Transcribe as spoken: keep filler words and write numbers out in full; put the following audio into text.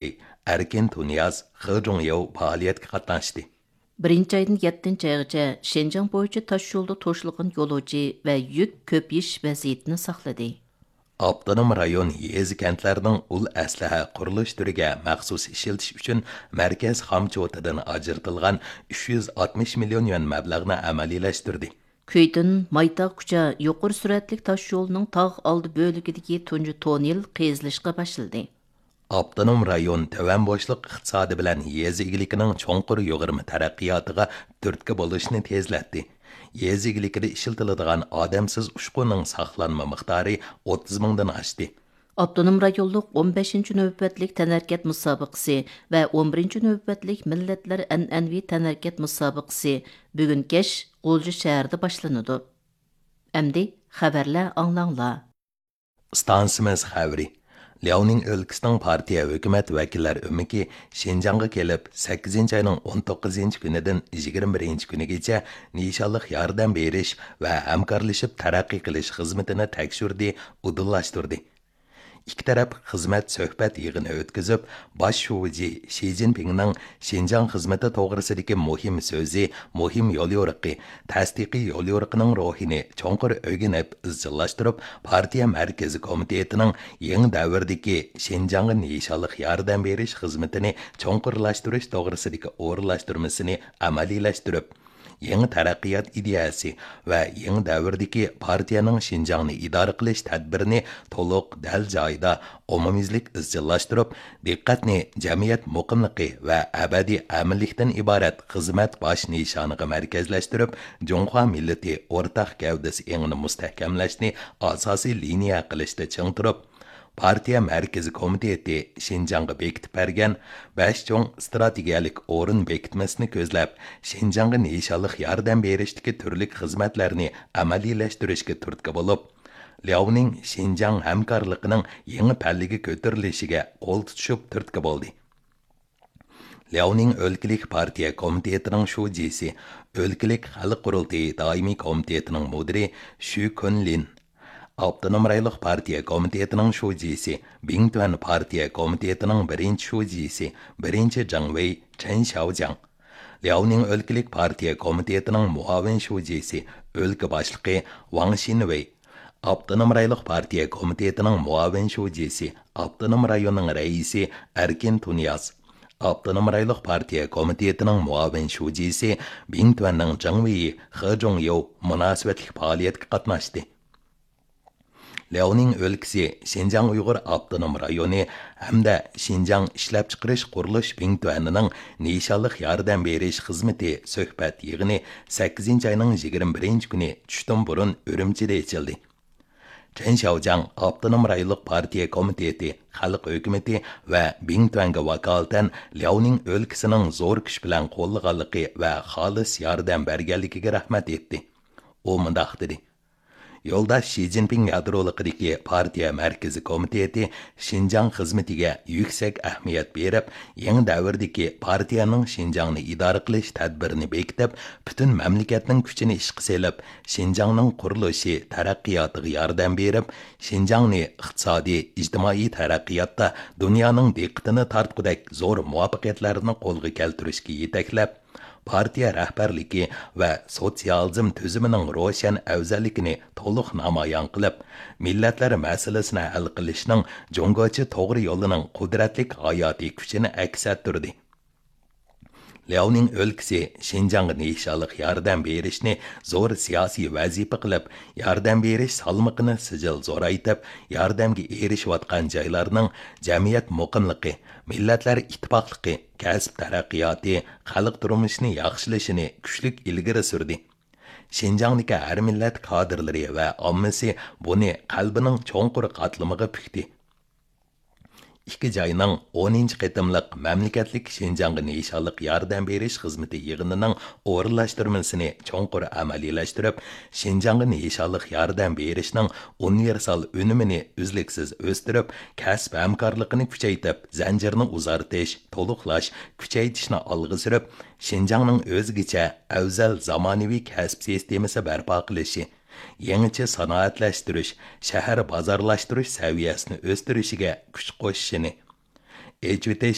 ئەركىن تۇنىياز، خې جۇڭياۋ پائالىيەتكە قاتناشتى. بىرىنچى ئايدىن يەتتىنچى ئايغىچە شىنجاڭ بويىچە تاش يولدا توشۇلغان يولۇچى ۋە يۈك كۆپىيىش ۋەزىيىتىنى ساقلىدى. ئاپتونوم رايون يېزا، كەنتلەرنىڭ ئۇل ئەسلىھە قۇرۇلۇش تۈرىگە مەخسۇس ئىشلىتىش ئۈچۈن مەركەز خامچوتىدىن ئاجرىتىلغان ئۈچ يۈز ئاتمىش مىليون يۈەن مەبلەغنى ئەمەلىيلەشتۈردى. كۈيتۈن مايتاغ كۇچا يۇقىرى سۈرئەتلىك تاش يولىنىڭ تاغ ئالدى بۆلىكىدىكى تۇنجى توننېل قېزىلىشقا باشلىدى. ئاپتونوم رايون تۆۋەن بوشلۇق ئىقتىسادى بىلەن يېزا ئىگىلىكىنىڭ چوڭقۇر يۇغۇرما تەرەققىياتىغا تۈرتكە بولۇشنى تېزلەتتى. يېزا ئىگىلىكىدە ئىشلىتىلىدىغان ئادەمسىز ئۇچقۇننىڭ ساقلانما مىقدارى ئوتتۇز مىڭدىن ئاشتى. ئاپتونوم رايونلۇق ئون بەشىنچى نۆۋەتلىك تەنھەرىكەت مۇسابىقىسى ۋە ئون بىرىنچى نۆۋەتلىك مىللەتلەر ئەنئەنىۋى تەنھەرىكەت مۇسابىقىسى بۈگۈن كەچ غۇلجا شەھىرىدە باشلىنىدۇ. ئەمدى خەۋەرلەر ئاڭلاڭلار. ئىستانسىمىز خەۋىرى. لياۋنىڭ ئۆلكىسىنىڭ پارتىيە ھۆكۈمەت ۋەكىللەر ئۆمىكى شىنجاڭغا كېلىپ، سەككىزىنچى ئاينىڭ ئون توققۇزىنچى كۈنىدىن يىگىرمە بىرىنچى كۈنىگىچە نىشانلىق ياردەم بېرىش ۋە ھەمكارلىشىپ تەرەققىي قىلىش خىزمىتىنى تەكشۈردى، ئۇدۇللاشتۇردى. ئىككى تەرەپ خىزمەت سۆھبەت يىغىنى ئۆتكۈزۈپ، باش شۇجى شى جىنپىڭنىڭ شىنجاڭ خىزمىتى توغرىسىدىكى مۇھىم سۆزى، مۇھىم يوليورۇقى، تەستىقىي يوليورۇقىنىڭ روھىنى چوڭقۇر ئۆگىنىپ ئىزچىللاشتۇرۇپ، پارتىيە مەركىزىي كومىتېتىنىڭ يېڭى دەۋردىكى شىنجاڭغا نىشانلىق ياردەم بېرىش خىزمىتىنى چوڭقۇرلاشتۇرۇش توغرىسىدىكى ئورۇنلاشتۇرمىسىنى ئەمەلىيلەشتۈرۈپ، يېڭى تەرەققىيات ئىدىيەسى ۋە يېڭى دەۋردىكى پارتىيەنىڭ شىنجاڭنى ئىدارە قىلىش تەدبىرىنى تولۇق، دەل جايىدا، ئومۇميۈزلۈك ئىزچىللاشتۇرۇپ، دىققەتنى جەمئىيەت مۇقىملىقى ۋە ئەبەدىي ئەمىنلىكتىن ئىبارەت خىزمەت باش نىشانىغا مەركەزلەشتۈرۈپ، جۇڭخۇا مىللىتى ئورتاق گەۋدىسى ئېڭىنى مۇستەھكەملەشنى ئاساسىي لىنىيە قىلىشتا چىڭ تۇرۇپ، پارتىيە مەركىزىي كومىتېتى شىنجاڭغا بېكىتىپ بەرگەن بەش چوڭ ئىستراتېگىيەلىك ئورۇن بېكىتمىسىنى كۆزلەپ، شىنجاڭغا نىشانلىق ياردەم بېرىشتىكى تۈرلۈك خىزمەتلەرنى ئەمەلىيلەشتۈرۈشكە تۈرتكە بولۇپ، لياۋنىڭ شىنجاڭ ھەمكارلىقىنىڭ يېڭى پەللىگە كۆتۈرۈلۈشىگە قول تۇتۇشۇپ تۈرتكە بولدى. لياۋنىڭ ئۆلكىلىك پارتىيە كومىتېتىنىڭ شۇجىسى، ئۆلكىلىك خەلق قۇرۇلتىيى دائىمىي كومىتېتىنىڭ مۇدىرى شۈ كۈنلىن، ئاپتونوم رايونلۇق پارتىيە كومىتېتىنىڭ شۇجىسى، بىڭتۈەن پارتىيە كومىتېتىنىڭ بىرىنچى شۇجىسى، بىرىنچى جاڭ ۋېي چېن شياۋجياڭ، لياۋنىڭ ئۆلكىلىك پارتىيە كومىتېتىنىڭ مۇئاۋىن شۇجىسى، ئۆلكە باشلىقى ۋاڭ شىنۋېي، ئاپتونوم رايونلۇق پارتىيە كومىتېتىنىڭ مۇئاۋىن شۇجىسى، ئاپتونوم رايوننىڭ رەئىسى ئەركىن تۇنىياز، ئاپتونوم رايونلۇق پارتىيە كومىتېتىنىڭ مۇئاۋىن شۇجىسى، بىڭتۈەننىڭ جاڭ ۋېيى خې جۇڭياۋ مۇناسىۋەتلىك پائالىيەتكە قاتناشتى. لياۋنىڭ ئۆلكىسى شىنجاڭ ئۇيغۇر ئاپتونوم رايونى ھەمدە شىنجاڭ ئىشلەپچىقىرىش قۇرۇلۇش بىڭتۈەنىنىڭ نىشانلىق ياردەم بېرىش خىزمىتى سۆھبەت يىغىنى سەككىزىنچى ئاينىڭ يىگىرمە بىرىنچى كۈنى چۈشتىن بۇرۇن ئۈرۈمچىدە ئېچىلدى. چېن شياۋجياڭ ئاپتونوم رايونلۇق پارتىيە كومىتېتى، خەلق ھۆكۈمىتى ۋە بىڭتۈەنگە ۋاكالىتەن لياۋنىڭ ئۆلكىسىنىڭ زور كۈچ بىلەن قوللىغانلىقى ۋە خالىس ياردەم بەرگەنلىكىگە رەھمەت ئېيتتى. ئۇ مۇنداق دېدى: يولداش شى جىنپىڭ يادرولۇقىدىكى پارتىيە مەركىزىي كومىتېتى شىنجاڭ خىزمىتىگە يۈكسەك ئەھمىيەت بېرىپ، يېڭى دەۋردىكى پارتىيەنىڭ شىنجاڭنى ئىدارە قىلىش تەدبىرىنى بېكىتىپ، پۈتۈن مەملىكەتنىڭ كۈچىنى ئىشقا سېلىپ، شىنجاڭنىڭ قۇرۇلۇشى، تەرەققىياتىغا ياردەم بېرىپ، شىنجاڭنى ئىقتىسادىي، ئىجتىمائىي تەرەققىياتتا دۇنيانىڭ دىققىتىنى تارتقۇدەك زور مۇۋەپپەقىيەتلەرنى قولغا كەلتۈرۈشكە يېتەكلەپ، پارتىيە رەھبەرلىكى ۋە سوتسىيالىزم تۈزۈمىنىڭ روشەن ئەۋزەللىكىنى تولۇق نامايان قىلىپ، مىللەتلەر مەسىلىسىنى ھەل قىلىشنىڭ جۇڭگوچە توغرا يولىنىڭ قۇدرەتلىك ھاياتىي كۈچىنى ئەكس ئەتتۈردى. لياۋنىڭ ئۆلكىسى شىنجاڭغا نىشانلىق ياردەم بېرىشنى زور سىياسىي ۋەزىپە قىلىپ، ياردەم بېرىش سالمىقىنى سىجىل زورايتىپ، ياردەمگە ئېرىشىۋاتقان جايلارنىڭ جەمئىيەت مۇقىملىقى، مىللەتلەر ئىتتىپاقلىقى، كەسىپ تەرەققىياتى، خەلق تۇرمۇشىنى ياخشىلىشىنى كۈچلۈك ئىلگىرى سۈردى. شىنجاڭدىكى ھەر مىللەت كادىرلىرى ۋە ئاممىسى بۇنى قەلبىنىڭ چوڭقۇر قاتلىمىغا پۈكتى. ئىككى جاينىڭ ئونىنچى قېتىملىق مەملىكەتلىك شىنجاڭغا نىشانلىق ياردەم بېرىش خىزمىتى يىغىنىنىڭ ئورۇنلاشتۇرمىسىنى چوڭقۇر ئەمەلىيلەشتۈرۈپ، شىنجاڭغا نىشانلىق ياردەم بېرىشنىڭ ئۇنىۋېرسال ئۈنۈمىنى ئۈزلۈكسىز ئۆستۈرۈپ، كەسىپ ھەمكارلىقىنى كۈچەيتىپ، زەنجىرنى ئۇزارتىش، تولۇقلاش، كۈچەيتىشنى ئالغا سۈرۈپ، شىنجاڭنىڭ ئۆزگىچە ئەۋزەل زامانىۋى كەسىپ سىستېمىسى بەرپا قىلىشى، يېڭىچە سانائەتلەشتۈرۈش، شەھەر بازارلاشتۇرۇش سەۋىيەسىنى ئۆستۈرۈشىگە كۈچ قوشۇشىنى، ئېچىۋېتىش